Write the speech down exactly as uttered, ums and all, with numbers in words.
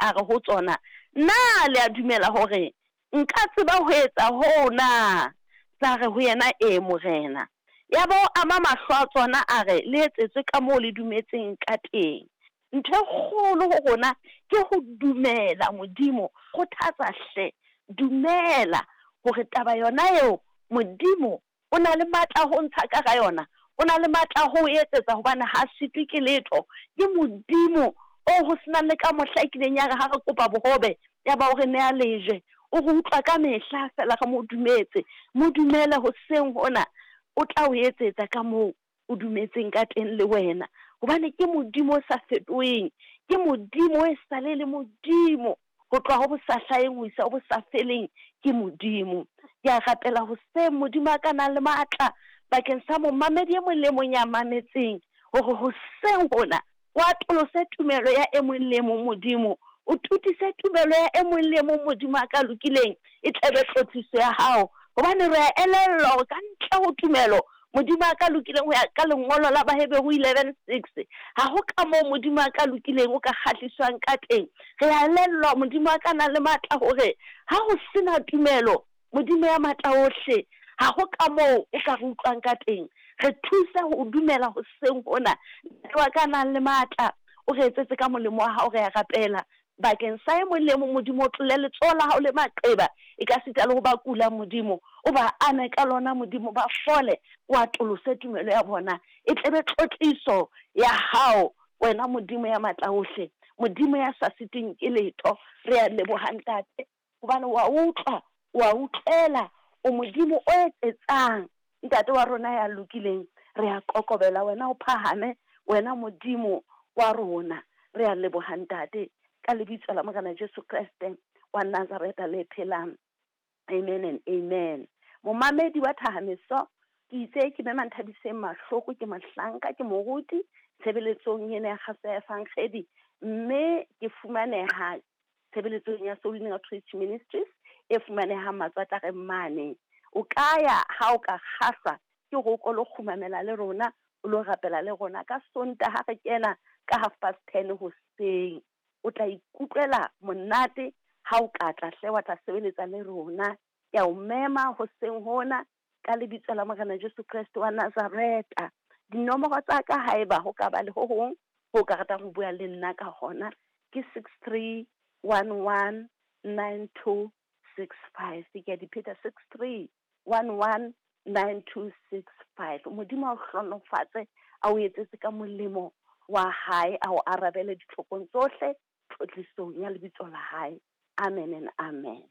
A re ho tsona, Na le a dumela hore nka tseba ho etsa hoo na? Tsa re ho yena, E, Morena. Yaba o ama mahlo a tsona, a re, Le etsetswe kamoo le dumetseng kateng. Ntho e kgolo ho rona ke ho dumela Modimo. Kgothatsa hle, dumela hore taba yona eo Modimo o na le matla a ho ntsha ka hara yona, o na le matla a ho o etsetsa, hobane ha sitwe ke letho. Ke Modimo oo ho senang le ka mohla e kileng ya re ha re kopa bohobe, ya ba o re nea lejwe. O re utlwa ka mehla feela re mo dumetse. Mo dumele hoseng hona, o tla o etsetsa ka moo o dumetseng ka teng le wena. Hobane ke Modimo o sa fetoheng, ke Modimo e sale le Modimo ho tloha ho bo sa hlaheng ho isa ho bo sa feleng, ke Modimo. Ke a rapela hoseng Modimo a ka nang le matla bakeng sa momamedi e mong le mong ya mametseng, hore hoseng hona o atolose tumelo ya e mong le e mong Modimo, o totise tumelo ya e mong le e mong Modimo a ka lokileng, e tle be tlotliso ya hao. Hobane re a elellwa hore ka ntle ho tumelo Modimo a ka lokileng ho ya ka lengolo la Baheberu eleven six, ha ho ka moo Modimo a ka lokileng o ka kgahliswang ka teng. Re a elellwa Modimo a ka nang le matla hore ha ho sena tumelo Modimo ya matla ohle, ha ho ka moo o ka re utlwang ka teng. Re thuse ho dumela hoseng hona. Ntate wa ka nang le matla, o re etsetse ka molemo wa hao, re a rapela bakeng sa e mong le mong Modimo, o tlole letsoho la hao le maqeba, e ka sita le ho ba kulang Modimo, o ba ame ka lona Modimo, ba fole, o atolose tumelo ya bona, e tle be tlotliso ya hao wena Modimo ya matla ohle, Modimo ya sa sitweng ke letho. Re a leboha Ntate, hobane wa utlwa, wa utlwela, o Modimo o etsetsang. Ntate wa rona ya lokileng, re a kokobela wena o phahame, wena Modimo wa rona. Re a leboha Ntate, ka lebitso la Morena Jesu Kreste wa Nazareta le phelang. Amen and amen. Momamedi wa Thahameso, ke itse ke mema Nthabiseng Mahloko, ke mohlanka, ke moruti tshebeletsong ena ya kgaso ya Evangedi, mme ke fumaneha tshebeletsong ya Soul Winning Outreach Ministries e fumanehang Matswatareng mane. O ka ya ha o ka kgahlwa ke hore o ko lo kgumamela le rona, o lo rapela le rona ka Sontaha re kena ka half past ten hoseng. O tla ikutlwela monate ha o ka tla hle wa tla sebeletsa le rona. Ke a o mema hoseng hona ka lebitso la Morena Jesu Kreste wa Nazareta. Dinomoro tsa ka haeba ho ka ba le ho hong ho ka ratang ho bua le nna ka hona, ke six three one one nine two six five. Ke a di pheta, six three one one nine two six five. Modimo a o hlohonolofatse, a o etsetse ka molemo wa hae, a o arabele ditlhokong tsohle tlotlisong ya lebitso la hae. Amen and amen.